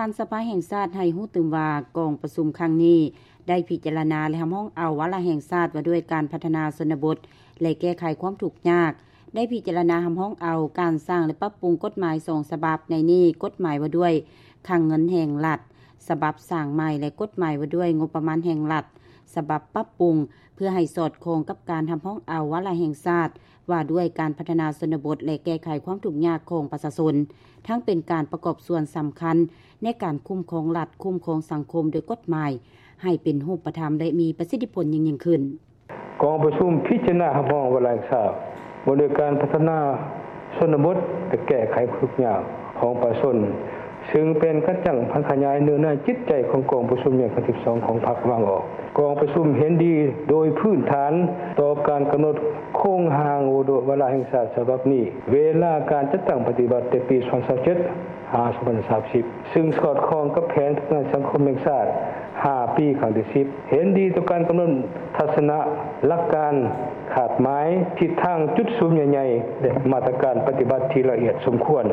ທ່ານສະພາແຫ່ງຊາດໃຫ້ຮູ້ຕື່ມວ່າ ກອງປະຊຸມຄັ້ງນີ້ໄດ້ພິຈາລະນາ ແລະ ຮັບຮອງເອົາວາລະແຫ່ງຊາດວ່າດ້ວຍການພັດທະນາຊົນນະບົດ ແລະ ແກ້ໄຂຄວາມທຸກຍາກ, ໄດ້ພິຈາລະນາຮັບຮອງເອົາການສ້າງ ແລະ ປັບປຸງກົດໝາຍສອງສະບັບ, ໃນນີ້ກົດໝາຍວ່າດ້ວຍຄັງເງິນແຫ່ງລັດ ສະບັບສ້າງໃໝ່ ແລະ ກົດໝາຍວ່າດ້ວຍງົບປະມານແຫ່ງລັດ ສະບັບປັບປຸງ ເພື່ອໃຫ້ສອດຄ່ອງກັບການຮັບຮອງເອົາວາລະແຫ່ງຊາດ ວ່າດ້ວຍການພັດທະນາຊົນນະບົດ ແລະ ແກ້ໄຂຄວາມທຸກຍາກຂອງປະຊາຊົນ, ທັງເປັນການປະກອບສ່ວນສຳຄັນໃນການຄຸ້ມຄອງລັດ, ຄຸ້ມຄອງສັງຄົມໂດຍກົດໝາຍ ໃຫ້ເປັນຮູບປະທຳ ແລະ ມີປະສິດທິຜົນຍິ່ງໆຂຶ້ນ. ກອງປະຊຸມພິຈາລະນາຮັບຮອງວາລະແຫ່ງຊາດ ວ່າດ້ວຍການພັດທະນາຊົນນະບົດ ແລະ ແກ້ໄຂຄວາມທຸກຍາກຂອງປະຊາຊົນ, ຊຶ່ງເປັນກະຈັງຜັນຂະຫຍາຍເນື້ອໃນຈິດໃຈຂອງກອງປະຊຸມໃຫຍ່ຄັ້ງທີສິບສອງຂອງພັກວາງອອກ. ກອງປະຊຸມເຫັນດີໂດຍພື້ນຖານຕໍ່ການກຳນົດໂຄງຮ່າງວ່າດ້ວຍວາລະແຫ່ງຊາດສະບັບນີ້, ເວລາການຈັດຕັ້ງປະຕິບັດແຕ່ປີສອງພັນຊາວເຈັດ ຫາ ສອງພັນສາມສິບ ຊຶ່ງສອດຄ່ອງກັບແຜນພັດທະນາສັງຄົມແຫ່ງຊາດຫ້າປີຄັ້ງທີສິບ, ເຫັນດີຕໍ່ການກຳນົດທັດສະນະ, ຫຼັກການ, ຄາດໝາຍ, ທິດທາງ, ຈຸດສຸມໃຫຍ່ໆ ແລະ ມາດຕະການປະຕິບັດທີ່ລະອຽດສົມຄວນ.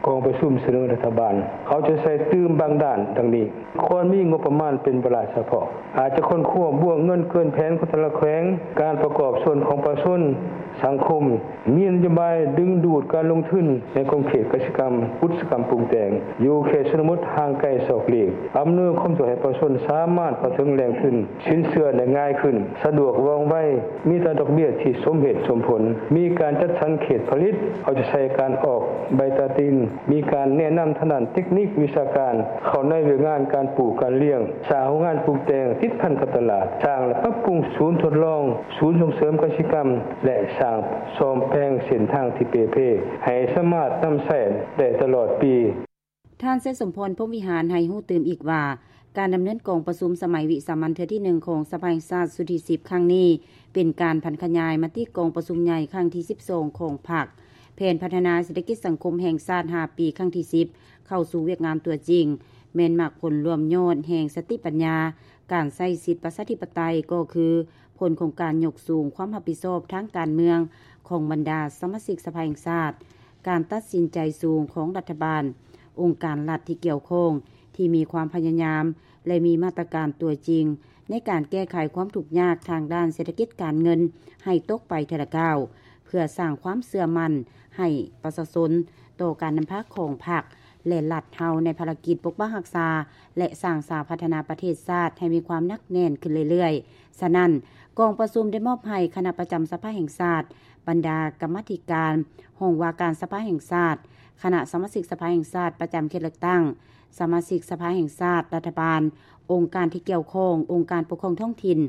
ກອງປະຊຸມສະເໜີລັດຖະບານເອົາໃຈໃສ່ຕື່ມບາງດ້ານດັ່ງນີ້: ຄວນມີງົບປະມານເປັນວາລະສະເພາະ, ອາດຈະຄົ້ນຄວ້າບົວເງິນເກີນແຜນຂອງແຕ່ລະແຂວງ, ການປະກອບສ່ວນຂອງປະຊາຊົນ, ສັງຄົມ, ມີນະໂຍບາຍດຶງດູດການລົງທຶນໃນຂົງເຂດກະສິກຳ, ອຸດສາຫະກຳປຸງແຕ່ງ ຢູ່ເຂດຊົນນະບົດຫ່າງໄກສອກຫຼີກ, ອຳນວຍຄວາມສະດວກໃຫ້ປະຊາຊົນສາມາດເຂົ້າເຖິງແຫຼ່ງທຶນສິນເຊື່ອໄດ້ງ່າຍຂຶ້ນ, ສະດວກວ່ອງໄວ, ມີອັດຕາດອກເບ້ຍທີ່ສົມເຫດສົມຜົນ, ມີການຈັດສັນເຂດຜະລິດ, ເອົາໃຈໃສ່ການອອກໃບຕາດິນ, ມີການແນະນຳທາງດ້ານເຕັກນິກວິຊາການເຂົ້າໃນວຽກງານການປູກການລ້ຽງ, ສ້າງໂຮງງານປຸງແຕ່ງຕິດພັນກັບຕະຫຼາດ, ສ້າງ ແລະ ປັບປຸງສູນທົດລອງ, ສູນສົ່ງເສີມກະສິກຳ ແລະ ສ້າງສ້ອມແປງເສັ້ນທາງທີ່ເປ່ເພ ໃຫ້ສາມາດນຳໃຊ້ໄດ້ຕະຫຼອດປີ. ທ່ານ ໄຊສົມພອນ ພົມວິຫານ ໃຫ້ຮູ້ຕື່ມອີກວ່າ ການດຳເນີນກອງປະຊຸມສະໄໝວິສາມັນເທື່ອທີໜຶ່ງຂອງສະພາແຫ່ງຊາດຊຸດທີສິບຄັ້ງນີ້ ເປັນການຜັນຂະຫຍາຍມະຕິກອງປະຊຸມໃຫຍ່ຄັ້ງທີສິບສອງຂອງພັກ, ແຜນພັດທະນາເສດຖະກິດສັງຄົມແຫ່ງຊາດຫ້າປີຄັ້ງທີສິບ ເຂົ້າສູ່ວຽກງານຕົວຈິງ, ແມ່ນໝາກຜົນລວມຍອດແຫ່ງສະຕິປັນຍາ ການໃຊ້ສິດປະຊາທິປະໄຕ ກໍຄື ຜົນຂອງການຍົກສູງຄວາມຮັບຜິດຊອບທາງການເມືອງຂອງບັນດາສະມາຊິກສະພາແຫ່ງຊາດ, ການຕັດສິນໃຈສູງຂອງລັດຖະບານ, ອົງການລັດທີ່ກ່ຽວຂ້ອງທີ່ມີຄວາມພະຍາຍາມ ແລະ ມີມາດຕະການຕົວຈິງໃນການແກ້ໄຂຄວາມທຸກຍາກທາງດ້ານເສດຖະກິດການເງິນໃຫ້ຕົກໄປເທື່ອລະກ້າວ, ເພື່ອສ້າງຄວາມເຊື່ອໝັ້ນໃຫ້ປະຊາຊົນຕໍ່ການນຳພາຂອງພັກ ແລະ ລັດເຮົາໃນພາລະກິດປົກປັກຮັກສາ ແລະ ສ້າງສາພັດທະນາປະເທດຊາດໃຫ້ມີຄວາມໜັກແໜ້ນຂຶ້ນເລື້ອຍໆ. ສະນັ້ນ, ກອງປະຊຸມໄດ້ມອບໃຫ້ຄະນະປະຈຳສະພາແຫ່ງຊາດ, ບັນດາກຳມາທິການຫ້ອງວ່າການສະພາແຫ່ງຊາດ, ຄະນະສະມາຊິກສະພາແຫ່ງຊາດປະຈຳເຂດເລືອກຕັ້ງ, ສະມາຊິກສະພາແຫ່ງຊາດ, ລັດຖະບານ, ອົງການທີ່ກ່ຽວຂ້ອງ, ອົງການປົກຄອງທ້ອງຖິ່ນ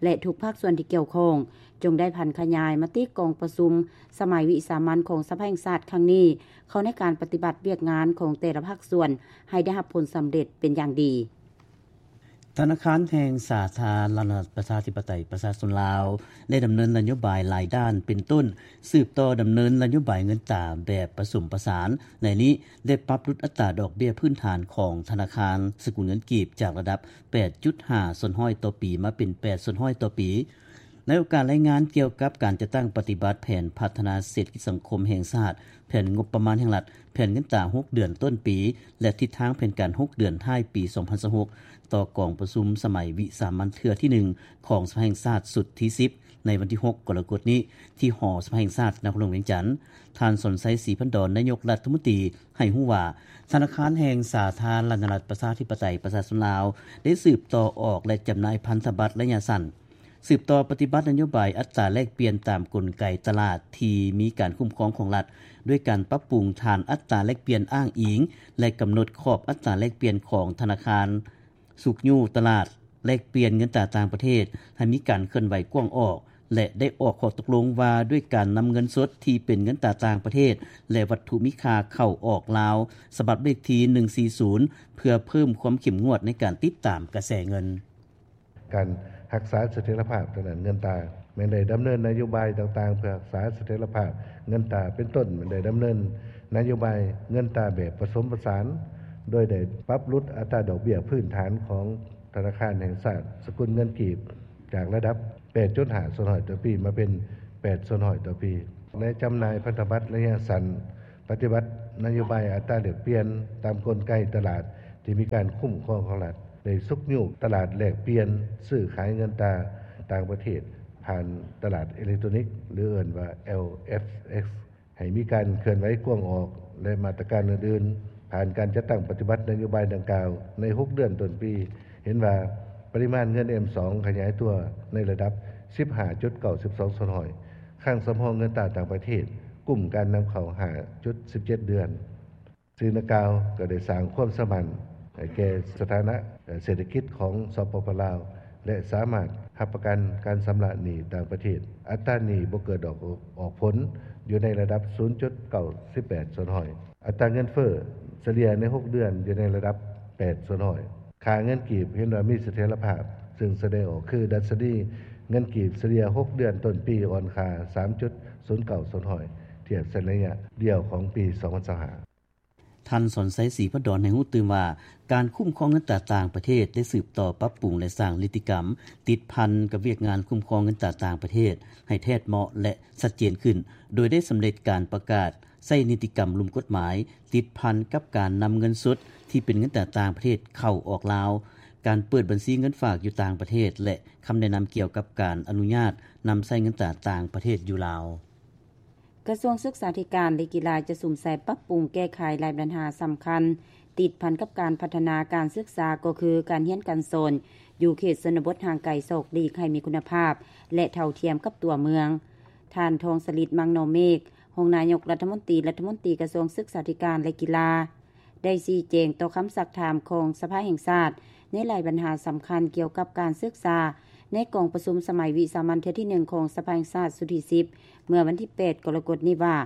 ແລະ ທຸກພາກສ່ວນທີ່ກ່ຽວຂ້ອງ ຈົ່ງໄດ້ຜັນຂະຫຍາຍມະຕິກອງປະຊຸມສະໄໝວິສາມັນຂອງສະພາແຫ່ງຊາດຄັ້ງນີ້ ເຂົ້າໃນການປະຕິບັດວຽກງານຂອງແຕ່ລະພາກສ່ວນໃຫ້ໄດ້ຮັບຜົນສຳເລັດເປັນຢ່າງດີ. ທະນາຄານແຫ່ງສາທາລະນະລັດປະຊາທິປະໄຕປະຊາຊົນລາວ ໄດ້ດຳເນີນນະໂຍບາຍຫຼາຍດ້ານ ເປັນຕົ້ນ ສືບຕໍ່ດຳເນີນນະໂຍບາຍເງິນຕາແບບປະສົມປະສານ, ໃນນີ້ໄດ້ປັບຫຼຸດອັດຕາດອກເບ້ຍພື້ນຖານຂອງທະນາຄານສະກຸນເງິນກີບ ຈາກລະດັບ ແປດຈຸດຫ້າສ່ວນຮ້ອຍຕໍ່ປີ ມາເປັນ ແປດສ່ວນຮ້ອຍຕໍ່ປີ. ໃນໂອກາດລາຍງານກ່ຽວກັບການຈັດຕັ້ງປະຕິບັດແຜນພັດທະນາເສດຖະກິດສັງຄົມແຫ່ງຊາດ, ແຜນງົບປະມານແຫ່ງລັດ, ແຜນເງິນຕາຫົກເດືອນຕົ້ນປີ ແລະ ທິດທາງແຜນການຫົກເດືອນທ້າຍປີສອງພັນຊາວຫົກ ຕໍ່ກອງປະຊຸມສະໄໝວິສາມັນເທື່ອທີໜຶ່ງຂອງສະພາແຫ່ງຊາດຊຸດທີສິບ ໃນວັນທີຫົກ ກໍລະກົດນີ້ ທີ່ຫໍສະພາແຫ່ງຊາດ ນະຄອນຫຼວງວຽງຈັນ, ທ່ານ ສອນໄຊ ສີພັນດອນ ນາຍົກລັດຖະມົນຕີ ໃຫ້ຮູ້ວ່າ ທະນາຄານແຫ່ງສາທາລະນະລັດປະຊາທິປະໄຕປະຊາຊົນລາວ ໄດ້ສືບຕໍ່ອອກ ແລະ ຈຳໜ່າຍພັນທະບັດໄລຍະສັ້ນ, ສືບຕໍ່ປະຕິບັດນະໂຍບາຍອັດຕາແລກປ່ຽນຕາມກົນໄກຕະຫຼາດທີ່ມີການຄຸ້ມຄອງຂອງລັດ ດ້ວຍການປັບປຸງຖານອັດຕາແລກປ່ຽນອ້າງອີງ ແລະ ກຳນົດຂອບອັດຕາແລກປ່ຽນຂອງທະນາຄານຊຸກຍູ້ຕະຫຼາດແລກປ່ຽນເງິນຕາຕ່າງປະເທດໃຫ້ມີການເຄື່ອນໄຫວກວ້າງອອກ ແລະ ໄດ້ອອກຂໍ້ຕົກລົງວ່າດ້ວຍການນຳເງິນສົດທີ່ເປັນເງິນຕາຕ່າງປະເທດ ແລະ ວັດຖຸມີຄ່າເຂົ້າອອກລາວ ສະບັບເລກທີໜຶ່ງສີ່ສູນ ເພື່ອເພີ່ມຄວາມເຂັ້ມງວດໃນການຕິດຕາມກະແສເງິນ. ການຮັກສາສະຖຽນລະພາບທາງດ້ານເງິນຕາ ແມ່ນໄດ້ດຳເນີນນະໂຍບາຍຕ່າງໆ ເພື່ອຮັກສາສະຖຽນລະພາບເງິນຕາ ເປັນຕົ້ນ ແມ່ນໄດ້ດຳເນີນນະໂຍບາຍເງິນຕາແບບປະສົມປະສານ ໂດຍໄດ້ປັບຫຼຸດອັດຕາດອກເບ້ຍພື້ນຖານຂອງທະນາຄານແຫ່ງຊາດສະກຸນເງິນກີບ ຈາກລະດັບ ແປດຈຸດຫ້າສ່ວນຮ້ອຍຕໍ່ປີ ມາເປັນ ແປດສ່ວນຮ້ອຍຕໍ່ປີ ແລະ ຈຳໜ່າຍພັນທະບັດໄລຍະສັ້ນ ປະຕິບັດນະໂຍບາຍອັດຕາແລກປ່ຽນຕາມກົນໄກຕະຫຼາດ ທີ່ມີການຄຸ້ມຄອງຂອງລັດ ໄດ້ຊຸກຍູ້ຕະຫຼາດແລກປ່ຽນຊື້ຂາຍເງິນຕາຕ່າງປະເທດ ຜ່ານຕະຫຼາດເອເລັກໂຕຣນິກ ຫຼືເອີ້ນວ່າ LFX ໃຫ້ມີການເຄື່ອນໄຫວກວ້າງອອກ ແລະ ມາດຕະການອື່ນໆ ຜ່ານການຈັດຕັ້ງປະຕິບັດນະໂຍບາຍດັ່ງກ່າວໃນຫົກເດືອນຕົ້ນປີ ເຫັນວ່າປະລິມານເງິນ M ສອງ ຂະຫຍາຍຕົວໃນລະດັບ ສິບຫ້າຈຸດເກົ້າສອງສ່ວນຮ້ອຍ, ຄັງສຳຮອງເງິນຕາຕ່າງປະເທດ ກຸ້ມການນຳເຂົ້າ ຫ້າຈຸດສິບເຈັດເດືອນ. ສິ່ງດັ່ງກ່າວກໍໄດ້ສ້າງຄວາມສະໝັນໃຫ້ແກ່ສະຖານະເສດຖະກິດຂອງ ສປປ ລາວ ແລະ ສາມາດຮັບປະກັນການຊຳລະໜີ້ຕ່າງປະເທດ. ອັດຕາໜີ້ບໍ່ເກີດດອກອອກຜົນ ຢູ່ໃນລະດັບ ສູນຈຸດເກົ້າແປດສ່ວນຮ້ອຍ. ອັດຕາເງິນເຟີ້ສະເລ່ຍໃນຫົກເດືອນຢູ່ໃນລະດັບ ແປດສ່ວນຮ້ອຍ. ຄ່າເງິນກີບເຫັນວ່າມີສະຖຽນລະພາບ, ຊຶ່ງສະແດງອອກຄືດັຊນີເງິນກີບສະເລ່ຍຫົກເດືອນຕົ້ນປີອ່ອນຄ່າ ສາມຈຸດສູນເກົ້າສ່ວນຮ້ອຍ ທຽບໃສ່ໄລຍະດຽວຂອງປີສອງພັນຊາວຫ້າ. ທ່ານ ສອນໄຊ ສີພັນດອນ ໃຫ້ຮູ້ຕື່ມວ່າ ການຄຸ້ມຄອງເງິນຕາຕ່າງປະເທດ ໄດ້ສືບຕໍ່ປັບປຸງ ແລະ ສ້າງນິຕິກຳຕິດພັນກັບວຽກງານຄຸ້ມຄອງເງິນຕາຕ່າງປະເທດ ໃຫ້ແທດເໝາະ ແລະ ຊັດເຈນຂຶ້ນ, ໂດຍໄດ້ສຳເລັດການປະກາດໃຊ້ນິຕິກຳລຸ່ມກົດໝາຍ ຕິດພັນກັບການນຳເງິນສົດທີ່ເປັນເງິນຕາຕ່າງປະເທດເຂົ້າອອກລາວ, ການເປີດບັນຊີເງິນຝາກຢູ່ຕ່າງປະເທດ ແລະ ຄຳແນະນຳກ່ຽວກັບການອະນຸຍາດນຳໃຊ້ເງິນຕາຕ່າງປະເທດຢູ່ລາວ. ກະຊວງສຶກສາທິການ ແລະ ກິລາ ຈະສຸມໃສ່ປັບປຸງແກ້ໄຂຫຼາຍບັນຫາສຳຄັນ ຕິດພັນກັບການພັດທະນາການສຶກສາ ກໍຄືການຮຽນການສອນຢູ່ເຂດຊົນນະບົດຫ່າງໄກສອກຫຼີກໃຫ້ມີຄຸນນະພາບ ແລະ ເທົ່າທຽມກັບຕົວເມືອງ. ທ່ານ ທອງສະລິດ ມັງນໍເມກ ຮອງນາຍົກລັດຖະມົນຕີ ລັດຖະມົນຕີກະຊວງສຶກສາທິການ ແລະ ກິລາ ໄດ້ຊີ້ແຈງຕໍ່ຄຳຊັກຖາມຂອງສະພາແຫ່ງຊາດ ໃນຫຼາຍບັນຫາສຳຄັນກ່ຽວກັບການສຶກສາ ໃນກອງປະຊຸມສະໄໝວິສາມັນເທື່ອທີໜຶ່ງຂອງສະພາແຫ່ງຊາດຊຸດທີສິບ ເມື່ອວັນທີແປດ ກໍລະກົດນີ້ວ່າ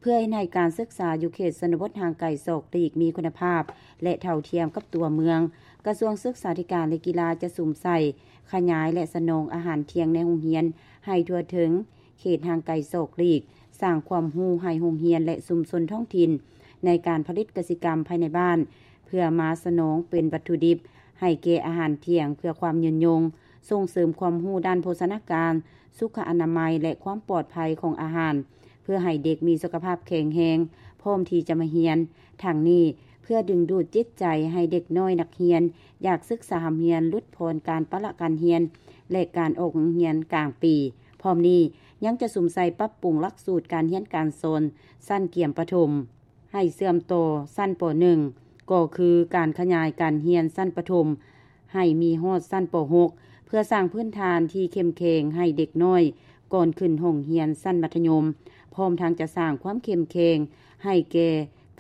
ເພື່ອເຮັດໃຫ້ການສຶກສາຢູ່ເຂດຊົນນະບົດຫ່າງໄກສອກຫຼີກມີຄຸນນະພາບ ແລະ ເທົ່າທຽມກັບຕົວເມືອງ, ກະຊວງສຶກສາທິການ ແລະ ກິລາ ຈະສຸມໃສ່ຂະຫຍາຍ ແລະ ສະໜອງອາຫານທ່ຽງໃນໂຮງຮຽນໃຫ້ທົ່ວເຖິງ ເຂດຫ່າງໄກສອກຫຼີກ, ສ້າງຄວາມຮູ້ໃຫ້ໂຮງຮຽນ ແລະ ຊຸມຊົນທ້ອງຖິ່ນ ໃນການຜະລິດກະສິກຳພາຍໃນບ້ານ ເພື່ອມາສະໜອງເປັນວັດຖຸດິບໃຫ້ແກ່ອາຫານທ່ຽງເພື່ອຄວາມຍືນຍົງ, ສົ່ງເສີມຄວາມຮູ້ດ້ານໂພຊະນາການ, ສຸຂະອະນາໄມ ແລະ ຄວາມປອດໄພຂອງອາຫານ ເພື່ອໃຫ້ເດັກມີສຸຂະພາບແຂງແຮງ ພ້ອມທີ່ຈະມາຮຽນ. ທັງນີ້ ເພື່ອດຶງດູດຈິດໃຈໃຫ້ເດັກນ້ອຍນັກຮຽນຢາກສຶກສາຮ່ຳຮຽນ, ຫຼຸດຜ່ອນການປະລະການຮຽນ ແລະ ການອອກໂຮງຮຽນກາງປີ. ພ້ອມນີ້ ຍັງຈະສຸມໃສ່ປັບປຸງຫຼັກສູດການຮຽນການສອນຊັ້ນກຽມປະຖົມ ໃຫ້ເຊື່ອມຕໍ່ຊັ້ນ ປໍໜຶ່ງ ກໍຄືການຂະຫຍາຍການຮຽນຊັ້ນປະຖົມໃຫ້ມີຮອດຊັ້ນ ປໍຫົກ ເພື່ອສ້າງພື້ນຖານທີ່ເຂັ້ມແຂງໃຫ້ເດັກນ້ອຍກ່ອນຂຶ້ນຫ້ອງຮຽນຊັ້ນມັດທະຍົມ, ພ້ອມທັງຈະສ້າງຄວາມເຂັ້ມແຂງໃຫ້ແກ່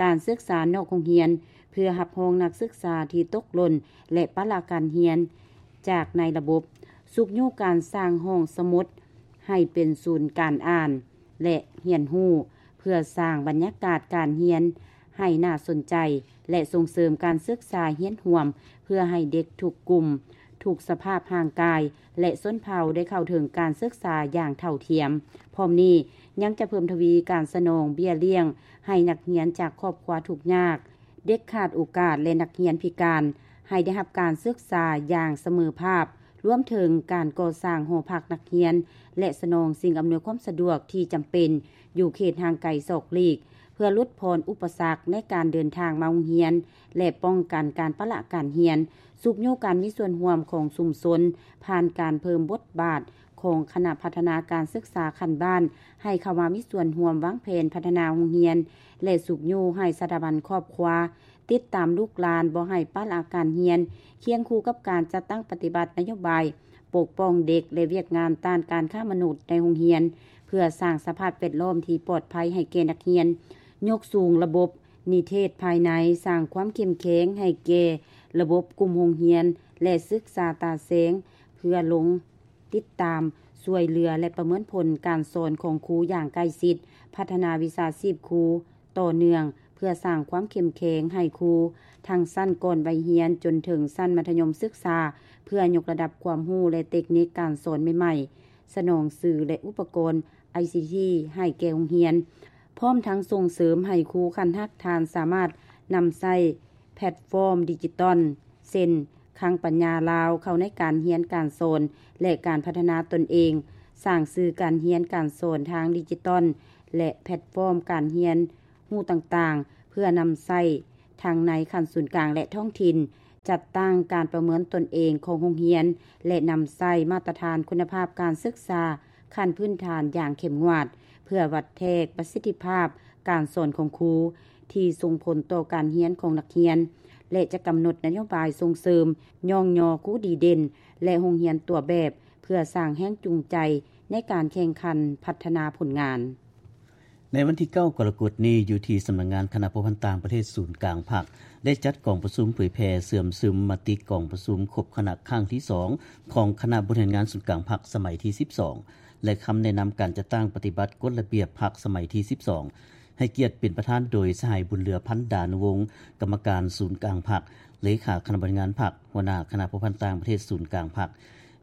ການສຶກສານອກໂຮງຮຽນ ເພື່ອຮັບຮອງນັກສຶກສາທີ່ຕົກຫຼົ່ນ ແລະ ປະລະການຮຽນຈາກໃນລະບົບ, ຊຸກຍູ້ການສ້າງຫ້ອງສະໝຸດໃຫ້ເປັນສູນການອ່ານ ແລະ ຮຽນຮູ້ ເພື່ອສ້າງບັນຍາກາດການຮຽນໃຫ້ໜ້າສົນໃຈ ແລະ ສົ່ງເສີມການສຶກສາຮຽນຮ່ວມ ເພື່ອໃຫ້ເດັກທຸກກຸ່ມ, ທຸກສະພາບຮ່າງກາຍ ແລະ ຊົນເຜົ່າໄດ້ເຂົ້າເຖິງການສຶກສາຢ່າງເທົ່າທຽມ. ພ້ອມນີ້ ຍັງຈະເພີ່ມທະວີການສະໜອງເບ້ຍລ້ຽງໃຫ້ນັກຮຽນຈາກຄອບຄົວທຸກຍາກ, ເດັກຂາດໂອກາດ ແລະ ນັກຮຽນພິການ ໃຫ້ໄດ້ຮັບການສຶກສາຢ່າງສະເໝີພາບ, ລວມເຖິງການກໍ່ສ້າງຫໍພັກນັກຮຽນ ແລະ ສະໜອງສິ່ງອຳນວຍຄວາມສະດວກທີ່ຈຳເປັນຢູ່ເຂດຫ່າງໄກສອກຫຼີກ ເພື່ອຫຼຸດຜ່ອນອຸປະສັກໃນການເດີນທາງມາໂຮງຮຽນ ແລະ ປ້ອງກັນການປະລະການຮຽນ, ຊຸກຍູ້ການມີສ່ວນຮ່ວມຂອງຊຸມຊົນ ຜ່ານການເພີ່ມບົດບາດຂອງຄະນະພັດທະນາການສຶກສາຂັ້ນບ້ານ ໃຫ້ເຂົ້າມາມີສ່ວນຮ່ວມວາງແຜນພັດທະນາໂຮງຮຽນ ແລະ ຊຸກຍູ້ໃຫ້ສະຖາບັນຄອບຄົວ ຕິດຕາມລູກຫຼານບໍ່ໃຫ້ປະລະການຮຽນ, ຄຽງຄູ່ກັບການຈັດຕັ້ງປະຕິບັດນະໂຍບາຍປົກປ້ອງເດັກ ແລະ ວຽກງານຕ້ານການຄ້າມະນຸດໃນໂຮງຮຽນ ເພື່ອສ້າງສະພາບແວດລ້ອມທີ່ປອດໄພໃຫ້ແກ່ນັກຮຽນ, ຍົກສູງລະບົບນິເທດພາຍໃນ, ສ້າງຄວາມເຂັ້ມແຂງໃຫ້ແກ່ລະບົບກຸ່ມໂຮງຮຽນ ແລະ ສຶກສາຕາແສງ ເພື່ອລົງ ຕິດຕາມ, ຊ່ວຍເຫຼືອ ແລະ ປະເມີນຜົນການສອນຂອງຄູຢ່າງໃກ້ຊິດ, ພັດທະນາວິຊາຊີບຄູຕໍ່ເນື່ອງ ເພື່ອສ້າງຄວາມເຂັ້ມແຂງໃຫ້ຄູທັງຊັ້ນກ່ອນໄວຮຽນຈົນເຖິງຊັ້ນມັດທະຍົມສຶກສາ ເພື່ອຍົກລະດັບຄວາມຮູ້ ແລະ ເຕັກນິກການສອນໃໝ່ໆ, ສະໜອງສື່ ແລະ ອຸປະກອນ ໄອຊີທີ ໃຫ້ແກ່ໂຮງຮຽນ, ພ້ອມທັງສົ່ງເສີມໃຫ້ຄູຂັ້ນຮາກຖານສາມາດນຳໃຊ້ແພລດຟອມດິຈິຕອນ ເຊັ່ນ ຄັງປັນຍາລາວ ເຂົ້າໃນການຮຽນການສອນ ແລະ ການພັດທະນາຕົນເອງ, ສ້າງສື່ການຮຽນການສອນທາງດິຈິຕອນ ແລະ ແພລດຟອມການຮຽນຮູ້ຕ່າງໆ ເພື່ອນຳໃຊ້ ທັງໃນຂັ້ນສູນກາງ ແລະ ທ້ອງຖິ່ນ, ຈັດຕັ້ງການປະເມີນຕົນເອງຂອງໂຮງຮຽນ ແລະ ນຳໃຊ້ມາດຕະຖານຄຸນນະພາບການສຶກສາຂັ້ນພື້ນຖານຢ່າງເຂັ້ມງວດ ເພື່ອວັດແທກປະສິດທິພາບການສອນຂອງຄູ ທີ່ສົ່ງຜົນຕໍ່ການຮຽນຂອງນັກຮຽນ ແລະ ຈະກຳນົດນະໂຍບາຍສົ່ງເສີມ, ຍ້ອງຍໍຄູດີເດັ່ນ ແລະ ໂຮງຮຽນຕົວແບບ ເພື່ອສ້າງແຮງຈູງໃຈໃນການແຂ່ງຂັນພັດທະນາຜົນງານ. ໃນວັນທີເກົ້າ ກໍລະກົດນີ້, ຢູ່ທີ່ສຳນັກງານຄະນະພົວພັນຕ່າງປະເທດສູນກາງພັກ ໄດ້ຈັດກອງປະຊຸມເຜີຍແຜ່ເຊື່ອມຊຶມມະຕິກອງປະຊຸມຄົບຄະນະຄັ້ງທີສອງ ຂອງຄະນະບໍລິຫານງານສູນກາງພັກສະໄໝທີສິບສອງ ແລະ ຄຳແນະນຳການຈັດຕັ້ງປະຕິບັດກົດລະບຽບພັກສະໄໝທີສິບສອງ ໃຫ້ກຽດເປັນປະທານໂດຍ ສະຫາຍ ບຸນເຫຼືອ ພັນດານຸວົງ ກຳມະການສູນກາງພັກ, ເລຂາຄະນະບໍລິຫານງານພັກ, ຫົວໜ້າຄະນະພົວພັນຕ່າງປະເທດສູນກາງພັກ,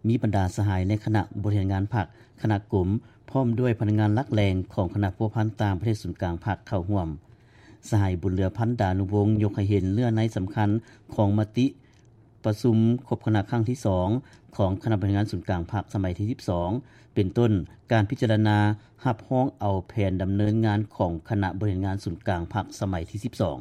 ມີບັນດາສະຫາຍໃນຄະນະບໍລິຫານງານພັກ, ຄະນະກົມ, ພ້ອມດ້ວຍພະນັກງານຫຼັກແຫຼ່ງຂອງຄະນະພົວພັນຕ່າງປະເທດສູນກາງພັກເຂົ້າຮ່ວມ. ສະຫາຍ ບຸນເຫຼືອ ພັນດານຸວົງ ຍົກໃຫ້ເຫັນເນື້ອໃນສຳຄັນຂອງມະຕິປະຊຸມຄົບຄະນະຄັ້ງທີສອງ ຂອງຄະນະບໍລິຫານງານສູນກາງພັກສະໄໝທີສິບສອງ ເປັນຕົ້ນ ການພິຈາລະນາຮັບຮອງເອົາແຜນດຳເນີນງານຂອງຄະນະບໍລິຫານງານສູນກາງພັກສະໄໝທີສິບສອງ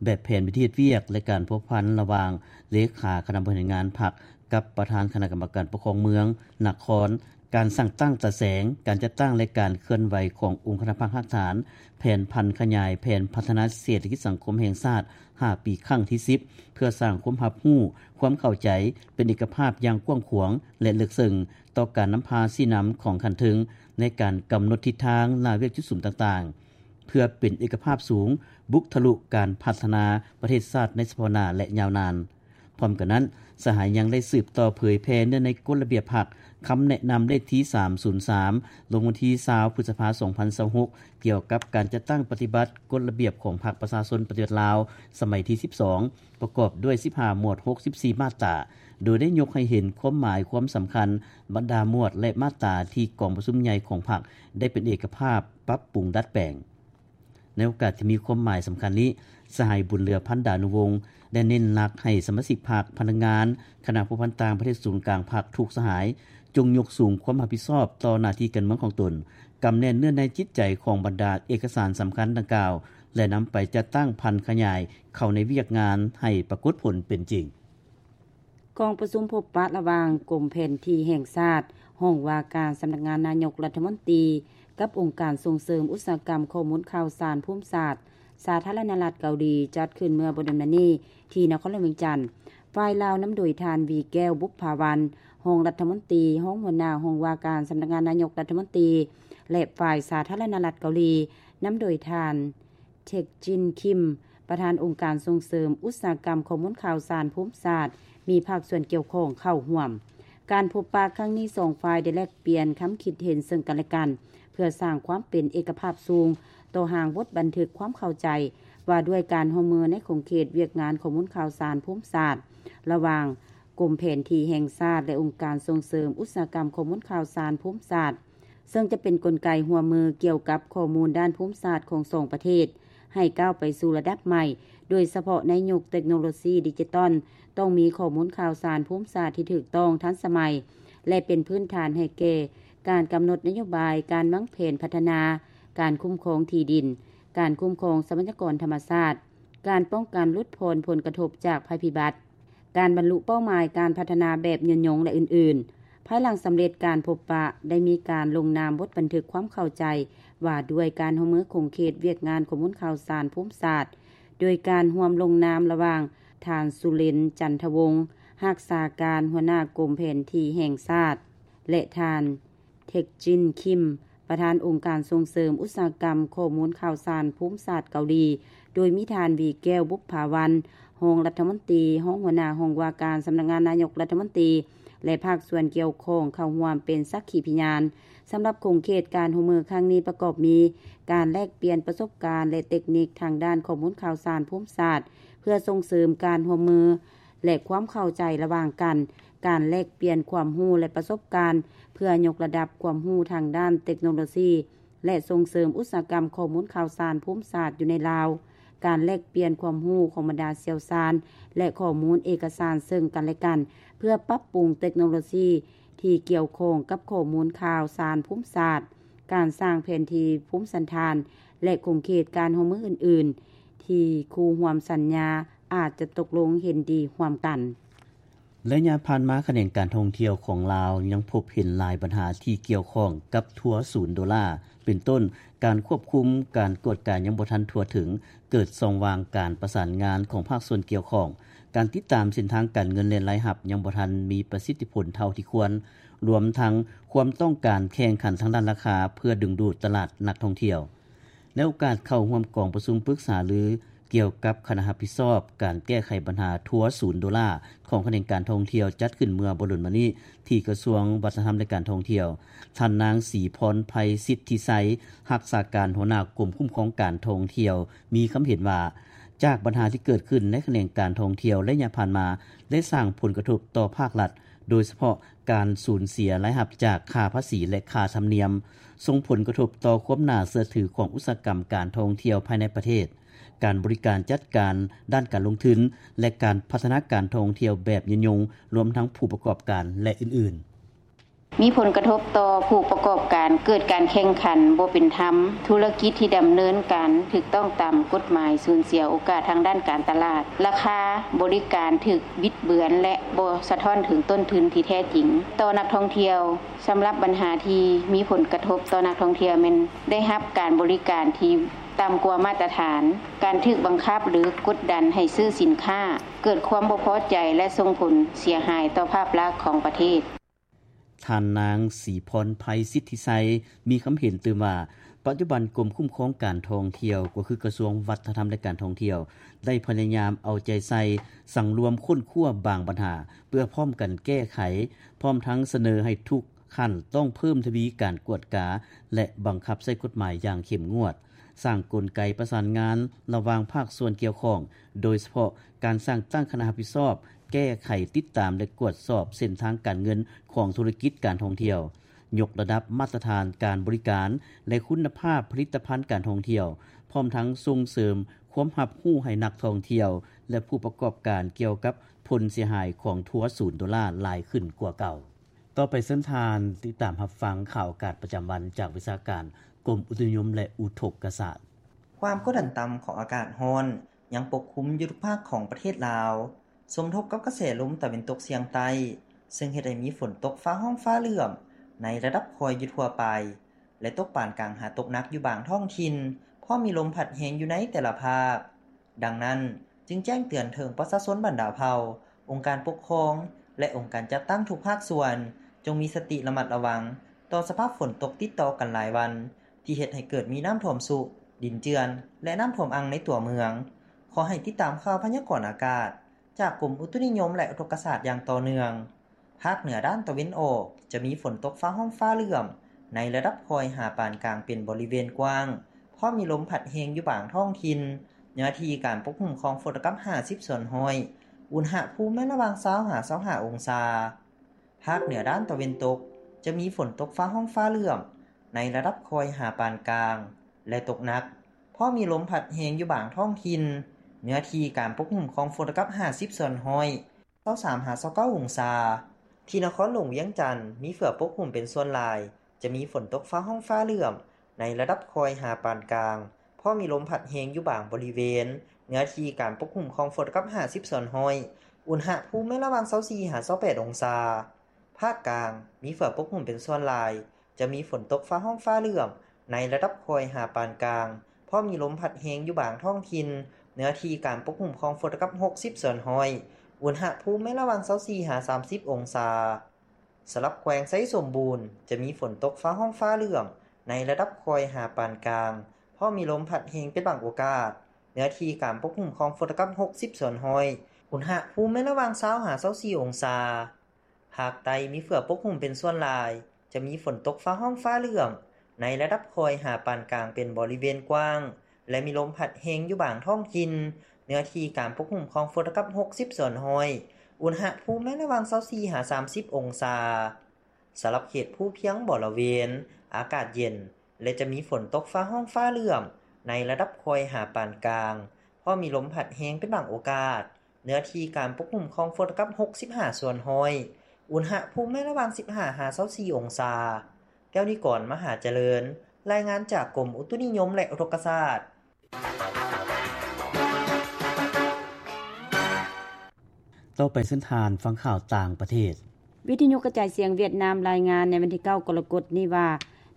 ແບບແຜນວິທີເຮັດວຽກ ແລະ ການພົວພັນລະຫວ່າງເລຂາຄະນະບໍລິຫານງານພັກກັບປະທານຄະນະກຳມະການປົກຄອງເມືອງ, ນະຄອນ, ການສ້າງຕັ້ງຕາແສງ, ການຈັດຕັ້ງ ແລະ ການເຄື່ອນໄຫວຂອງອົງຄະນະພັກຮາກຖານ, ແຜນຜັນຂະຫຍາຍແຜນພັດທະນາເສດຖະກິດສັງຄົມແຫ່ງຊາດຫ້າປີຄັ້ງທີສິບ ເພື່ອສ້າງຄວາມຮັບຮູ້, ຄວາມເຂົ້າໃຈ, ເປັນເອກະພາບຢ່າງກວ້າງຂວາງ ແລະ ເລິກເຊິ່ງຕໍ່ການນຳພາຊີ້ນຳຂອງຂັ້ນເທິງ ໃນການກຳນົດທິດທາງ, ລາວຽກຈຸດສຸມຕ່າງໆ ເພື່ອເປັນເອກະພາບສູງ, ບຸກທະລຸການພັດທະນາປະເທດຊາດໃນສະເພາະໜ້າ ແລະ ຍາວນານ. ພ້ອມກັນນັ້ນ, ສະຫາຍຍັງໄດ້ສືບຕໍ່ເຜີຍແຜ່ເນື້ອໃນກົດລະບຽບພັກ, ຄຳແນະນຳເລກທີສາມສູນສາມ ລົງວັນທີຊາວ ພຶດສະພາ ສອງພັນຊາວຫົກ ກ່ຽວກັບການຈັດຕັ້ງປະຕິບັດກົດລະບຽບຂອງພັກປະຊາຊົນປະຕິວັດລາວ ສະໄໝທີສິບສອງ ປະກອບດ້ວຍສິບຫ້າໝວດ ຫົກສິບສີ່ມາດຕາ, ໂດຍໄດ້ຍົກໃຫ້ເຫັນຄວາມໝາຍຄວາມສຳຄັນບັນດາໝວດ ແລະ ມາດຕາທີ່ກອງປະຊຸມໃຫຍ່ຂອງພັກໄດ້ເປັນເອກະພາບປັບປຸງດັດແປງ. ໃນໂອກາດທີ່ມີຄວາມໝາຍສຳຄັນນີ້, ສະຫາຍ ບຸນເຫຼືອ ພັນດານຸວົງ ໄດ້ເນັ້ນໜັກໃຫ້ສະມາຊິກພັກ, ພະນັກງານ, ຄະນະພົວພັນຕ່າງປະເທດສູນກາງພັກທຸກສະຫາຍ ຈົ່ງຍົກສູງຄວາມຮັບຜິດຊອບຕໍ່ໜ້າທີ່ການເມືອງຂອງຕົນ, ກຳແໜ້ນເນື້ອໃນຈິດໃຈຂອງບັນດາເອກະສານສຳຄັນດັ່ງກ່າວ ແລະ ນຳໄປຈັດຕັ້ງຜັນຂະຫຍາຍເຂົ້າໃນວຽກງານໃຫ້ປາກົດຜົນເປັນຈິງ. ກອງປະຊຸມພົບປະລະຫວ່າງກົມແຜນທີ່ແຫ່ງຊາດ, ຫ້ອງວ່າການສຳນັກງານນາຍົກລັດຖະມົນຕີ ກັບອົງການສົ່ງເສີມອຸດສາຫະກຳຂໍ້ມູນຂ່າວສານພູມສາດ ສາທາລະນະລັດເກົາຫຼີ ຈັດຂຶ້ນເມື່ອບໍ່ດົນມານີ້ທີ່ນະຄອນຫຼວງວຽງຈັນ. ຝ່າຍລາວນຳໂດຍທ່ານ ວີແກ້ວ ບຸບຜາວັນ ຮອງລັດຖະມົນຕີ, ຮອງຫົວໜ້າຫ້ອງວ່າການສຳນັກງານນາຍົກລັດຖະມົນຕີ ແລະ ຝ່າຍສາທາລະນະລັດເກົາຫຼີ ນຳໂດຍທ່ານ ເທັກຈິນ ຄິມ ປະທານອົງການສົ່ງເສີມອຸດສາຫະກຳຂໍ້ມູນຂ່າວສານພູມສາດ ມີພາກສ່ວນກ່ຽວຂ້ອງເຂົ້າຮ່ວມ. ການພົບປະຄັ້ງນີ້ ສອງຝ່າຍໄດ້ແລກປ່ຽນຄຳຄິດເຫັນເຊິ່ງກັນແລະກັນ ເພື່ອສ້າງຄວາມເປັນເອກະພາບສູງຕໍ່ຮ່າງບົດບັນທຶກຄວາມເຂົ້າໃຈວ່າດ້ວຍການຮ່ວມມືໃນຂົງເຂດວຽກງານຂໍ້ມູນຂ່າວສານພູມສາດ ລະຫວ່າງກົມແຜນທີ່ແຫ່ງຊາດ ແລະ ອົງການສົ່ງເສີມອຸດສາຫະກຳຂໍ້ມູນຂ່າວສານພູມສາດ ເຊິ່ງຈະເປັນກົນໄກຮ່ວມມືກ່ຽວກັບຂໍ້ມູນດ້ານພູມສາດຂອງສອງປະເທດ ໃຫ້ກ້າວໄປສູ່ລະດັບໃໝ່, ໂດຍສະເພາະໃນຍຸກເຕັກໂນໂລຊີດິຈິຕອນ, ຕ້ອງມີຂໍ້ມູນຂ່າວສານພູມສາດທີ່ຖືກຕ້ອງ, ທັນສະໄໝ ແລະ ເປັນພື້ນຖານໃຫ້ແກ່ການກຳນົດນະໂຍບາຍ, ການວາງແຜນພັດທະນາ, ການຄຸ້ມຄອງທີ່ດິນ, ການຄຸ້ມຄອງຊັບພະຍາກອນທຳມະຊາດ, ການປ້ອງກັນຫຼຸດຜ່ອນຜົນກະທົບຈາກໄພພິບັດ, ການບັນລຸເປົ້າໝາຍການພັດທະນາແບບຍືນຍົງ ແລະ ອື່ນໆ. ພາຍຫຼັງສຳເລັດການພົບປະ, ໄດ້ມີການລົງນາມບົດບັນທຶກຄວາມເຂົ້າໃຈວ່າດ້ວຍການຮ່ວມມືຂົງເຂດວຽກງານຂໍ້ມູນຂ່າວສານພູມສາດ, ໂດຍການຮ່ວມລົງນາມລະຫວ່າງທ່ານ ສຸເລັນ ຈັນທະວົງ ຮັກສາການຫົວໜ້າກົມແຜນທີ່ແຫ່ງຊາດ ແລະ ທ່ານ ເທັກຈິນ ຄິມ ປະທານອົງການສົ່ງເສີມອຸດສາຫະກຳຂໍ້ມູນຂ່າວສານພູມສາດເກົາຫຼີ, ໂດຍມີທ່ານ ວີແກ້ວ ບຸບຜາວັນ ຮອງລັດຖະມົນຕີ, ຮອງຫົວໜ້າຫ້ອງວ່າການສຳນັກງານນາຍົກລັດຖະມົນຕີ ແລະ ພາກສ່ວນກ່ຽວຂ້ອງເຂົ້າຮ່ວມເປັນສັກຂີພະຍານ. ສຳລັບຂົງເຂດການຮ່ວມມືຄັ້ງນີ້ປະກອບມີ ການແລກປ່ຽນປະສົບການ ແລະ ເຕັກນິກທາງດ້ານຂໍ້ມູນຂ່າວສານພູມສາດ ເພື່ອສົ່ງເສີມການຮ່ວມມື ແລະ ຄວາມເຂົ້າໃຈລະຫວ່າງກັນ, ການແລກປ່ຽນຄວາມຮູ້ ແລະ ປະສົບການ ເພື່ອຍົກລະດັບຄວາມຮູ້ທາງດ້ານເຕັກໂນໂລຊີ ແລະ ສົ່ງເສີມອຸດສາຫະກຳຂໍ້ມູນຂ່າວສານພູມສາດຢູ່ໃນລາວ, ການແລກປ່ຽນຄວາມຮູ້ຂອງບັນດາຊ່ຽວຊານ ແລະ ຂໍ້ມູນເອກະສານເຊິ່ງກັນແລະກັນ ເພື່ອປັບປຸງເຕັກໂນໂລຊີທີ່ກ່ຽວຂ້ອງກັບຂໍ້ມູນຂ່າວສານພູມສາດ, ການສ້າງແຜນທີ່ພູມສັນຖານ ແລະ ຂົງເຂດການຮ່ວມມືອື່ນໆ ທີ່ຄູ່ຮ່ວມສັນຍາອາດຈະຕົກລົງເຫັນດີຮ່ວມກັນ. ໄລຍະຜ່ານມາ, ຂະແໜງການທ່ອງທ່ຽວຂອງລາວຍັງພົບເຫັນຫຼາຍບັນຫາທີ່ກ່ຽວຂ້ອງກັບທົວສູນໂດລາ, ເປັນຕົ້ນ ການຄວບຄຸມ, ການກວດກາຍັງບໍ່ທັນທົ່ວເຖິງ, ເກີດຊ່ອງວ່າງການປະສານງານຂອງພາກສ່ວນກ່ຽວຂ້ອງ, ການຕິດຕາມເສັ້ນທາງການເງິນ ແລະ ລາຍຮັບຍັງບໍ່ທັນມີປະສິດທິຜົນເທົ່າທີ່ຄວນ, ລວມທັງຄວາມຕ້ອງການແຂ່ງຂັນທາງດ້ານລາຄາເພື່ອດຶງດູດຕະຫຼາດນັກທ່ອງທ່ຽວ. ໃນໂອກາດເຂົ້າຮ່ວມກອງປະຊຸມປຶກສາລືກ່ຽວກັບຄະນະຮັບຜິດຊອບການແກ້ໄຂບັນຫາທົວສູນໂດລາຂອງຂະແໜງການທ່ອງທ່ຽວ ຈັດຂຶ້ນເມື່ອບໍ່ດົນມານີ້ທີ່ກະຊວງວັດທະນະທຳ ແລະ ການທ່ອງທ່ຽວ, ທ່ານນາງ ສີພອນໄພ ສິດທິໄຊ ຮັກສາການຫົວໜ້າກົມຄຸ້ມຄອງການທ່ອງທ່ຽວ ມີຄຳເຫັນວ່າ ຈາກບັນຫາທີ່ເກີດຂຶ້ນໃນຂະແໜງການທ່ອງທ່ຽວໄລຍະຜ່ານມາ ໄດ້ສ້າງຜົນກະທົບຕໍ່ພາກລັດ, ໂດຍສະເພາະ ການສູນເສຍລາຍຮັບຈາກຄ່າພາສີ ແລະ ຄ່າທຳນຽມ, ສົ່ງຜົນກະທົບຕໍ່ຄວາມໜ້າເຊື່ອຖືຂອງອຸດສາຫະກຳການທ່ອງທ່ຽວພາຍໃນປະເທດ, ການບໍລິການຈັດການດ້ານການລົງທຶນ ແລະ ການພັດທະນາການທ່ອງທ່ຽວແບບຍືນຍົງ, ລວມທັງຜູ້ປະກອບການ ແລະ ອື່ນໆ. ມີຜົນກະທົບຕໍ່ຜູ້ປະກອບການ, ເກີດການແຂ່ງຂັນບໍ່ເປັນທຳ, ທຸລະກິດທີ່ດຳເນີນການຖືກຕ້ອງຕາມກົດໝາຍສູນເສຍໂອກາດທາງດ້ານການຕະຫຼາດ, ລາຄາບໍລິການຖືກບິດເບືອນ ແລະ ບໍ່ສະທ້ອນເຖິງຕົ້ນທຶນທີ່ແທ້ຈິງຕໍ່ນັກທ່ອງທ່ຽວ. ສຳລັບບັນຫາທີ່ມີຜົນກະທົບຕໍ່ນັກທ່ອງທ່ຽວແມ່ນໄດ້ຮັບການບໍລິການທີ່ຕ່ຳກວ່າມາດຕະຖານ, ການຖືກບັງຄັບ ຫຼື ກົດດັນໃຫ້ຊື້ສິນຄ້າ, ເກີດຄວາມບໍ່ພໍໃຈ ແລະ ສົ່ງຜົນເສຍຫາຍຕໍ່ພາບລັກຂອງປະເທດ. ທ່ານນາງ ສີພອນໄພ ສິດທິໄຊ ມີຄຳເຫັນຕື່ມວ່າ ປັດຈຸບັນກົມຄຸ້ມຄອງການທ່ອງທ່ຽວ ກໍຄືກະຊວງວັດທະນະທຳ ແລະ ການທ່ອງທ່ຽວ ໄດ້ພະຍາຍາມເອົາໃຈໃສ່ສັງລວມຄົ້ນຄວ້າບາງບັນຫາ ເພື່ອພ້ອມກັນແກ້ໄຂ, ພ້ອມທັງສະເໜີໃຫ້ທຸກຂັ້ນຕ້ອງເພີ່ມທະວີການກວດກາ ແລະ ບັງຄັບໃຊ້ກົດໝາຍຢ່າງເຂັ້ມງວດ, ສ້າງກົນໄກປະສານງານລະຫວ່າງພາກສ່ວນກ່ຽວຂ້ອງ, ໂດຍສະເພາະການສ້າງຕັ້ງຄະນະຮັບຜິດຊອບ ແກ້ໄຂ, ຕິດຕາມ ແລະ ກວດສອບເສັ້ນທາງການເງິນຂອງທຸລະກິດການທ່ອງທ່ຽວ, ຍົກລະດັບມາດຕະຖານການບໍລິການ ແລະ ຄຸນນະພາບຜະລິດຕະພັນການທ່ອງທ່ຽວ, ພ້ອມທັງສົ່ງເສີມຄວາມຮັບຮູ້ໃຫ້ນັກທ່ອງທ່ຽວ ແລະ ຜູ້ປະກອບການກ່ຽວກັບຜົນເສຍຫາຍຂອງທົວສູນໂດລາຫຼາຍຂຶ້ນກວ່າເກົ່າ. ຕໍ່ໄປເຊີນທ່ານຕິດຕາມຮັບຟັງຂ່າວອາກາດປະຈຳວັນຈາກວິຊາການກົມອຸຕຸນິຍົມ ແລະ ອຸທົກກະສາດ. ຄວາມກົດດັນຕ່ຳຂອງອາກາດຮ້ອນຍັງປົກຄຸມຢູ່ທຸກພາກຂອງປະເທດລາວ, ສົມທົບກັບກະແສລົມຕາເວັນຕົກສຽງໃຕ້, ເຊິ່ງເຮັດໃຫ້ມີຝົນຕົກຟ້າຮ້ອງຟ້າເຫຼື້ອມໃນລະດັບຄ່ອຍຢູ່ທົ່ວໄປ ແລະ ຕົກປານກາງຫາຕົກໜັກຢູ່ບາງທ້ອງຖິ່ນ, ພ້ອມມີລົມພັດແຮງຢູ່ໃນແຕ່ລະພາກ. ດັ່ງນັ້ນ, ຈຶ່ງແຈ້ງເຕືອນເຖິງປະຊາຊົນບັນດາເຜົ່າ, ອົງການປົກຄອງ ແລະ ອົງການຈັດຕັ້ງທຸກພາກສ່ວນ, ຈົ່ງມີສະຕິລະມັດລະວັງຕໍ່ສະພາບຝົນຕົກຕິດຕໍ່ກັນຫຼາຍວັນ, ທີ່ເຮັດໃຫ້ເກີດມີນ້ຳຖ້ວມຊຸ, ດິນເຈື່ອນ ແລະ ນ້ຳຖ້ວມອັ່ງໃນຕົວເມືອງ. ຂໍໃຫ້ຕິດຕາມຂ່າວພະຍາກອນອາກາດຈາກກົມອຸຕຸນິຍົມ ແລະ ອຸທົກກະສາດຢ່າງຕໍ່ເນື່ອງ. ພາກເໜືອດ້ານຕາເວັນອອກ ຈະມີຝົນຕົກຟ້າຮ້ອງຟ້າເຫຼື້ອມໃນລະດັບຄ່ອຍຫາປານກາງເປັນບໍລິເວນກວ້າງ, ພ້ອມມີລົມພັດແຮງຢູ່ບາງທ້ອງຖິ່ນ, ເນື້ອທີ່ການປົກຄຸມຂອງຝົນຕົກກັບຫ້າສິບສ່ວນຮ້ອຍ, ອຸນຫະພູມໃນລະຫວ່າງຊາວຫາຊາວຫ້າອົງສາ. ພາກເໜືອດ້ານຕາເວັນຕົກ ຈະມີຝົນຕົກຟ້າຮ້ອງຟ້າເຫຼື້ອມໃນລະດັບຄ່ອຍຫາປານກາງ ແລະ ຕົກໜັກ, ພ້ອມມີລົມພັດແຮງຢູ່ບາງທ້ອງຖິ່ນ, ເນື້ອທີ່ການປົກຄຸມຂອງຝົນຕົກກັບຫ້າສິບສ່ວນຮ້ອຍ, ຊາວສາມຫາຊາວເກົ້າອົງສາ. ທີ່ນະຄອນຫຼວງວຽງຈັນ ມີເຝືອປົກຄຸມເປັນສ່ວນຫຼາຍ, ຈະມີຝົນຕົກຟ້າຮ້ອງຟ້າເຫຼື້ອມໃນລະດັບຄ່ອຍຫາປານກາງ, ພໍມີລົມພັດແຮງຢູ່ບາງບໍລິເວນ, ເນື້ອທີ່ການປົກຄຸມຂອງຝົນກັບຫ້າສິບສ່ວນຮ້ອຍ, ອຸນຫະພູມໃນລະຫວ່າງຊາວສີ່ຫາຊາວແປດອົງສາ. ພາກກາງ ມີເຝືອປົກຄຸມເປັນສ່ວນຫຼາຍ, ຈະມີຝົນຕົກຟ້າຮ້ອງຟ້າເຫຼື້ອມໃນລະດັບຄ່ອຍຫາປານກາງ, ພໍມີລົມພັດແຮງຢູ່ບາງທ້ອງຖິ່ນ, ເນື້ອທີ່ການປົກຄຸມຂອງຝົນກັບຫົກສິບສ່ວນຮ້ອຍ, ອຸນຫະພູມໃນລະຫວ່າງຊາວສີ່ຫາສາມສິບອົງສາ. ສຳລັບແຂວງໄຊສົມບູນ ຈະມີຝົນຕົກຟ້າຮ້ອງຟ້າເຫຼື້ອມໃນລະດັບຄ່ອຍຫາປານກາງ, ພໍມີລົມພັດແຮງເປັນບາງໂອກາດ, ເນື້ອທີ່ການປົກຄຸມຂອງຝົນກັບຫົກສິບສ່ວນຮ້ອຍ, ອຸນຫະພູມໃນລະຫວ່າງຊາວຫາຊາວສີ່ອົງສາ. ພາກໃຕ້ມີເຝືອປົກຄຸມເປັນສ່ວນຫຼາຍ, ຈະມີຝົນຕົກຟ້າຮ້ອງຟ້າເຫຼື້ອມໃນລະດັບຄ່ອຍຫາປານກາງເປັນບໍລິເວນກວ້າງ ແລະ ມີລົມພັດແຮງຢູ່ບາງທ້ອງຖິ່ນ, ເນື້ອທີ່ການປົກຄຸມຂອງຝົນກັບຫົກສິບສ່ວນຮ້ອຍ, ອຸນຫະພູມໃນລະຫວ່າງຊາວສີ່ຫາສາມສິບອົງສາ. ສຳລັບເຂດພູພຽງບໍລະເວນ ອາກາດເຢັນ ແລະ ຈະມີຝົນຕົກຟ້າຮ້ອງຟ້າເຫຼື້ອມໃນລະດັບຄ່ອຍຫາປານກາງ, ພໍມີລົມພັດແຮງເປັນບາງໂອກາດ, ເນື້ອທີ່ການປົກຄຸມຂອງຝົນກັບຫົກສິບຫ້າສ່ວນຮ້ອຍ, ອຸນຫະພູມໃນລະຫວ່າງສິບຫ້າຫາຊາວສີ່ອົງສາ. ແກ້ວນິກອນ ມະຫາຈະເລີນ, ລາຍງານຈາກກົມອຸຕຸນິຍົມ ແລະ ອຸທົກກະສາດ. ຕໍ່ໄປເຊີນທ່ານຟັງຂ່າວຕ່າງປະເທດ. ວິທະຍຸກະຈາຍສຽງຫວຽດນາມລາຍງານໃນວັນທີເກົ້າ ກໍລະກົດນີ້ວ່າ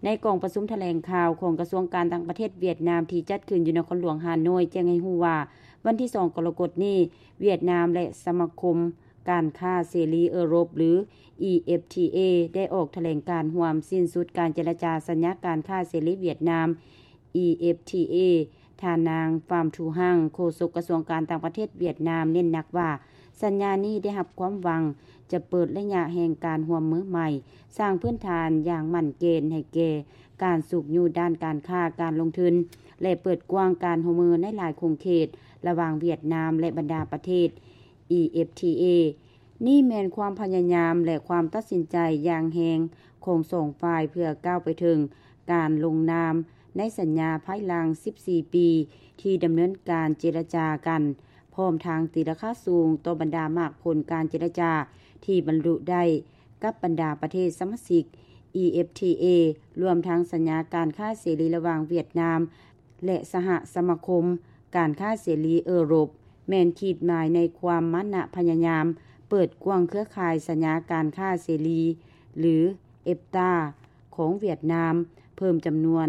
ໃນກອງປະຊຸມຖະແຫຼງຂ່າວຂອງກະຊວງການຕ່າງປະເທດຫວຽດນາມທີ່ຈັດຂຶ້ນຢູ່ນະຄອນຫຼວງຮ່າໂນ້ຍ ແຈ້ງໃຫ້ຮູ້ວ່າ ວັນທີສອງ ກໍລະກົດນີ້ ຫວຽດນາມ ແລະ ສະມາຄົມການຄ້າເສລີເອີຣົບ ຫຼື EFTA ໄດ້ອອກຖະແຫຼງການຮ່ວມສິ້ນສຸດການເຈລະຈາສັນຍາການຄ້າເສລີຫວຽດນາມ EFTA. ທ່ານນາງ ຟາມ ທູຮັງ ໂຄສົກກະຊວງການຕ່າງປະເທດຫວຽດນາມ ເນັ້ນໜັກວ່າ ສັນຍານີ້ໄດ້ຮັບຄວາມຫວັງຈະເປີດໄລຍະແຫ່ງການຮ່ວມມືໃໝ່, ສ້າງພື້ນຖານຢ່າງໝັ້ນເກນໃຫ້ແກ່ການຊຸກຍູ້ດ້ານການຄ້າ, ການລົງທຶນ ແລະ ເປີດກວ້າງການຮ່ວມມືໃນຫຼາຍຂົງເຂດລະຫວ່າງຫວຽດນາມ ແລະ ບັນດາປະເທດ EFTA. ນີ້ແມ່ນຄວາມພະຍາຍາມ ແລະ ຄວາມຕັດສິນໃຈຢ່າງແຮງຂອງສອງຝ່າຍ ເພື່ອກ້າວໄປເຖິງການລົງນາມໃນສັນຍາພາຍຫຼັງສິບສີ່ປີທີ່ດຳເນີນການເຈລະຈາກັນ, ພ້ອມທັງຕີລາຄາສູງຕໍ່ບັນດາໝາກຜົນການເຈລະຈາທີ່ບັນລຸໄດ້ກັບບັນດາປະເທດສະມາຊິກ EFTA, ລວມທັງສັນຍາການຄ້າເສລີລະຫວ່າງຫວຽດນາມ ແລະ ສະຫະສະມາຄົມການຄ້າເສລີເອີຣົບ ແມ່ນຂີດໝາຍໃນຄວາມມານະພະຍາຍາມເປີດກວ້າງເຄືອຂ່າຍສັນຍາການຄ້າເສລີ ຫຼື EFTA ຂອງຫວຽດນາມ, ເພີ່ມຈຳນວນ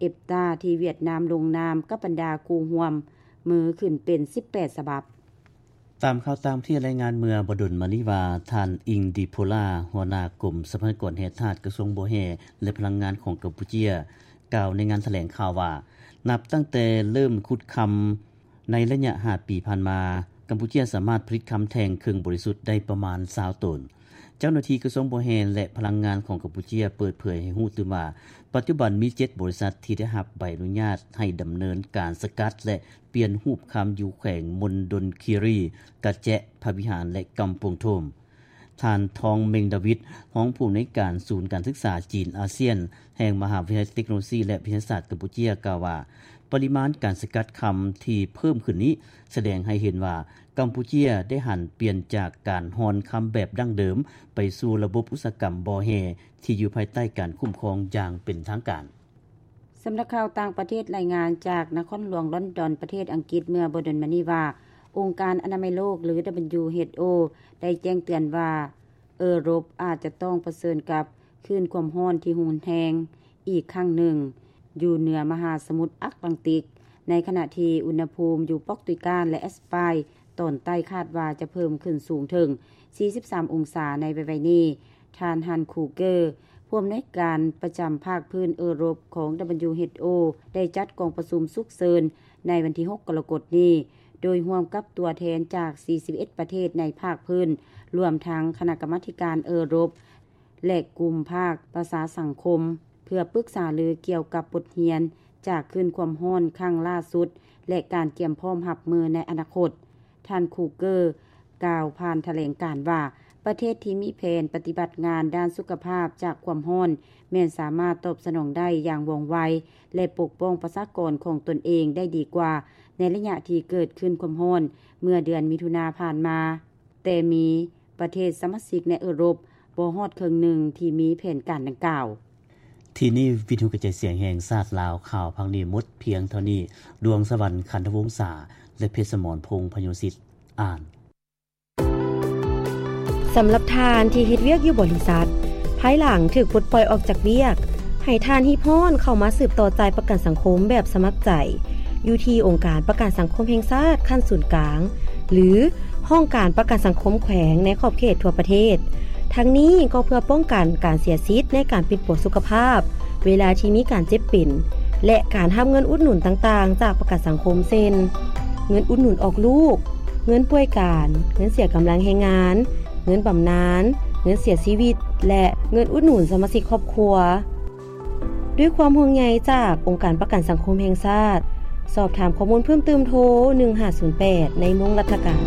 EFTA ທີ່ຫວຽດນາມລົງນາມກັບບັນດາຄູ່ຮ່ວມມືຂຶ້ນເປັນສິບແປດສະບັບ. ຕາມຂ່າວຕ່າງປະເທດລາຍງານເມື່ອບໍ່ດົນມານີ້ວ່າ ທ່ານ ອິງ ດີໂພລາ ຫົວໜ້າກົມຊັບພະຍາກອນແຮ່ທາດ ກະຊວງບໍ່ແຮ່ ແລະ ພະລັງງານຂອງກຳປູເຈຍ ກ່າວໃນງານຖະແຫຼງຂ່າວວ່າ ນັບຕັ້ງແຕ່ເລີ່ມຂຸດຄຳໃນໄລຍະຫ້າປີຜ່ານມາ, ກຳປູເຈຍສາມາດຜະລິດຄຳແທ່ງເຄິ່ງບໍລິສຸດໄດ້ປະມານຊາວໂຕນ. ເຈົ້າໜ້າທີ່ກະຊວງບໍ່ແຮ່ ແລະ ພະລັງງານຂອງກຳປູເຈຍເປີດເຜີຍໃຫ້ຮູ້ຕື່ມວ່າ ປັດຈຸບັນມີເຈັດບໍລິສັດທີ່ໄດ້ຮັບໃບອະນຸຍາດໃຫ້ດຳເນີນການສະກັດ ແລະ ປ່ຽນຮູບຄຳຢູ່ແຂວງມົນດົນຄີຣີ, ກະແຈະ, ພະວິຫານ ແລະ ກຳປົງໂທມ. ທ່ານ ທອງ ເມັງດາວິດ ຮອງຜູ້ອຳນວຍການສູນການສຶກສາຈີນອາຊຽນ ແຫ່ງມະຫາວິທະຍາໄລເຕັກໂນໂລຊີ ແລະ ວິທະຍາສາດກຳປູເຈຍ ກ່າວວ່າ ປະລິມານການສະກັດຄຳທີ່ເພີ່ມຂຶ້ນນີ້ ສະແດງໃຫ້ເຫັນວ່າ ກຳປູເຈຍໄດ້ຫັນປ່ຽນຈາກການຮ່ອນຄຳແບບດັ້ງເດີມ ໄປສູ່ລະບົບອຸດສາຫະກຳບໍ່ແຮ່ທີ່ຢູ່ພາຍໃຕ້ການຄຸ້ມຄອງຢ່າງເປັນທາງການ. ສຳນັກຂ່າວຕ່າງປະເທດລາຍງານຈາກນະຄອນຫຼວງລອນດອນ ປະເທດອັງກິດ ເມື່ອບໍ່ດົນມານີ້ວ່າ ອົງການອະນາໄມໂລກ ຫຼື WHO ໄດ້ແຈ້ງເຕືອນວ່າ ເອີຣົບອາດຈະຕ້ອງປະເຊີນກັບຄື້ນຄວາມຮ້ອນທີ່ຮຸນແຮງອີກຄັ້ງໜຶ່ງ ຢູ່ເໜືອມະຫາສະໝຸດອັດລານຕິກ, ໃນຂະນະທີ່ອຸນຫະພູມຢູ່ປອກຕຸຍການ ແລະ ແອັດສະປາຍຕອນໃຕ້ຄາດວ່າຈະເພີ່ມຂຶ້ນສູງເຖິງສີ່ສິບສາມອົງສາໃນໄວໆນີ້. ທ່ານ ຮັນ ຄູເກີ ຜູ້ອຳນວຍການປະຈຳພາກພື້ນເອີຣົບຂອງ WHO ໄດ້ຈັດກອງປະຊຸມສຸກເສີນໃນວັນທີຫົກ ກໍລະກົດນີ້ ໂດຍຮ່ວມກັບຕົວແທນຈາກສີ່ສິບເອັດປະເທດໃນພາກພື້ນ, ລວມທັງຄະນະກຳມາທິການເອີຣົບ ແລະ ກຸ່ມພາກປະຊາສັງຄົມ ເພື່ອປຶກສາລືກ່ຽວກັບບົດຮຽນຈາກຄື້ນຄວາມຮ້ອນຄັ້ງລ່າສຸດ ແລະ ການກຽມພ້ອມຮັບມືໃນອະນາຄົດ. ທ່ານ ຄູເກີ ກ່າວຜ່ານຖະແຫຼງການວ່າ ປະເທດທີ່ມີແຜນປະຕິບັດງານດ້ານສຸຂະພາບຈາກຄວາມຮ້ອນ ແມ່ນສາມາດຕອບສະໜອງໄດ້ຢ່າງວ່ອງໄວ ແລະ ປົກປ້ອງປະຊາກອນຂອງຕົນເອງໄດ້ດີກວ່າ ໃນໄລຍະທີ່ເກີດຂຶ້ນຄວາມຮ້ອນເມື່ອເດືອນມິຖຸນາຜ່ານມາ, ແຕ່ມີປະເທດສະມາຊິກໃນເອີຣົບບໍ່ຮອດເຄິ່ງໜຶ່ງທີ່ມີແຜນການດັ່ງກ່າວ. ທີ່ນີ້ວິທະຍຸກະຈາຍສຽງແຫ່ງຊາດລາວ ຂ່າວພາກນີ້ໝົດພຽງເທົ່ານີ້. ດວງສະຫວັນ ຂັນທະວົງສາ ແລະ ເພັດສະໝອນ ພົງພະໂຍສິດ ອ່ານ. ສຳລັບທ່ານທີ່ເຮັດວຽກຢູ່ບໍລິສັດ, ພາຍຫຼັງຖືກປົດປ່ອຍອອກຈາກວຽກ, ໃຫ້ທ່ານຮີບຮ້ອນເຂົ້າມາສືບຕໍ່ຈ່າຍປະກັນສັງຄົມແບບສະໝັກໃຈ ຢູ່ທີ່ອົງການປະກັນສັງຄົມແຫ່ງຊາດຂັ້ນສູນກາງ ຫຼື ຫ້ອງການປະກັນສັງຄົມແຂວງໃນຂອບເຂດທົ່ວປະເທດ. ທັງນີ້ກໍເພື່ອປ້ອງກັນການເສຍສິດໃນການປິ່ນປົວສຸຂະພາບ ເວລາທີ່ມີການເຈັບເປັນ ແລະ ການຮັບເງິນອຸດໜູນຕ່າງໆຈາກປະກັນສັງຄົມ ເຊັ່ນ ເງິນອຸດໜູນອອກລູກ, ເງິນປ່ວຍການ, ເງິນເສຍກຳລັງແຮງງານ, ເງິນບຳນານ, ເງິນເສຍຊີວິດ ແລະ ເງິນອຸດໜູນສະມາຊິກຄອບຄົວ. ດ້ວຍຄວາມຫ່ວງໃຍຈາກອົງການປະກັນສັງຄົມແຫ່ງຊາດ. ສອບຖາມຂໍ້ມູນເພີ່ມເຕີມໂທ ໜຶ່ງຫ້າສູນແປດ ໃນໂມງລັດຖະການ.